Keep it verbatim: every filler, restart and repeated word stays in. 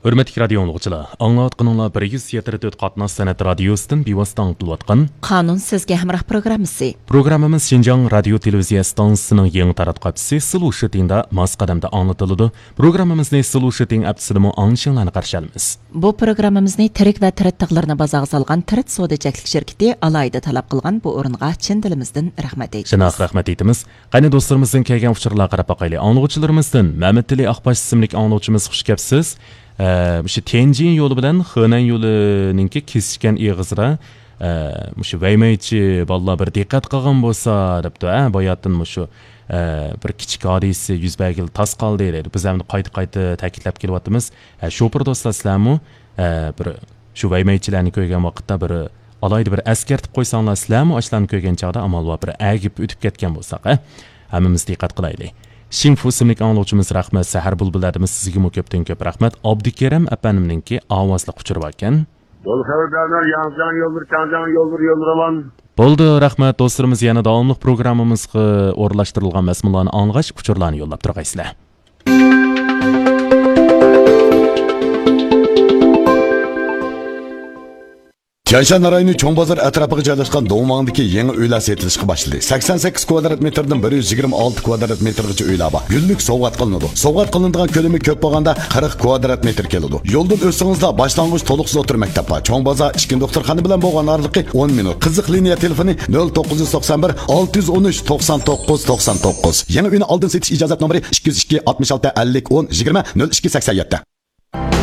ھۆرمەتلىك رادىيو ئاڭلىغۇچىلار، ئاڭلاۋاتقىنىڭلار بىر يۈز يەتتە تۆت قاتناش سەنئەت رادىيوسىدىن بىۋاسىتە ئاڭلىتىلىۋاتقان قانۇن سىزگە ھەمراھ پروگراممىسى. پروگراممىمىز شىنجاڭ رادىيو تېلېۋىزىيە ئىستانسىسىنىڭ يېڭى تاراتقۇ ھەپتىسى سىلۇشىتىڭدا ماس قەدەمدە ئاڭلىتىلىدۇ. پروگراممىمىزنى سىلۇشىتىڭ ھەپتىسىدىمۇ ئاڭلىشىڭلارنى قارشى ئالىمىز. بۇ پروگراممىمىزنى تىرىك ۋە تىرىت تاغلىرىنى بازارغا سالغان تىرىت سودا چەكلىك شىركىتى ئالاھىدە تەلەپ قىلغان بۇ ئورۇنغا چىن دىلىمىزدىن رەھمەت ئېيتىمىز. شۇنداق، رەھمەت ئېيتىمىز. قېنى، دوستلىرىمىزدىن كەلگەن ئۇچۇرلارغا قاراپ باقايلى. ئاڭلىغۇچىلىرىمىزدىن مەمەتئېلى ئاقباش ئىسىملىك ئاڭلىغۇچىمىز، «خۇش كەپسىز. ئە، مۇشۇ تيەنجىن يولى بىلەن خېنەن يولىنىڭكى كېسىشكەن ئېغىزىدا، ئە، مۇشۇ ۋەيمەيچى بالىلار بىر دىققەت قىلغان بولسا» دەپتۇ. ھە، باياتىن مۇشۇ، ئە، بىر كىچىك ھادىسە يۈز بەرگىلى تاس قالدى دەيدۇ. بىز ئەمدى قايتا-قايتا تەكىتلەپ كېلىۋاتىمىز. ھە، شوپۇر دوستلار، سىلەرمۇ، ئە، بىر شۇ ۋەيمەيچىلەرنى كۆرگەن ۋاقىتتا بىر ئالاھىدە بىر ئەسكەرتىپ قويساڭلار، سىلەرمۇ ئاشۇلارنى كۆرگەن چاغدا ئامال بار بىر ئەگىپ ئۆتۈپ كەتكەن بولساق، ھە؟ ھەممىمىز دىققەت قىلايلى. شىڭفۇ ئىسىملىك ئاڭلىغۇچىمىز، «رەھمەت، سەھەر بۇلبۇللەردىمۇ سىزگىمۇ كۆپتىن كۆپ رەھمەت.» ئابدۇكېرىم ئەپەندىمنىڭكى ئاۋازلىق ئۇچۇرى باركەن. يول خەۋەردارلار، ياڭجياڭ يول بىر، چاڭجياڭ يول بىر، يول راۋان. بولدى، رەھمەت. دوستلىرىمىز يەنە داۋاملىق پروگراممىمىزغا ئورۇنلاشتۇرۇلغان مەزمۇنلارنى ئاڭلىغاچ، ئۇچۇرلارنى يوللاپ تۇرغايسىلەر. تيەنشان رايونى چوڭ بازار ئەتراپىغا جايلاشقان دوڭۋاڭدىكى يېڭى ئۆيلەر سېتىلىشقا باشلىدى. سەكسەن سەككىز كۋادرات مېتىردىن بىر يۈز يىگىرمە ئالتە كۋادرات مېتىرغىچە ئۆيلەر بار. گۈللۈك سوۋغات قىلىنىدۇ. سوۋغات قىلىنىدىغان كۆلىمى كۆپ بولغاندا قىرىق كۋادرات مېتىر كېلىدۇ. يولدىن ئۆتسىڭىزلا باشلانغۇچ تولۇقسىز ئوتتۇرا مەكتەپ بار. چوڭ بازار ئىككىنچى دوختۇرخانا بىلەن بولغان ئارىلىقى ئون مىنۇت. قىزىق لىنىيە تېلېفونى نۆل توققۇز يۈز توقسان بىر، ئالتە يۈز ئون ئۈچ، توقسان توققۇز، توقسان توققۇز. يېڭى ئۆينى ئالدىن سېتىش ئىجازەت نومۇرى ئىككى يۈز ئىككى، ئاتمىش ئالتە، ئەللىك، ئون، يىگىرمە، نۆل ئىككى، سەكسەن يەتتە.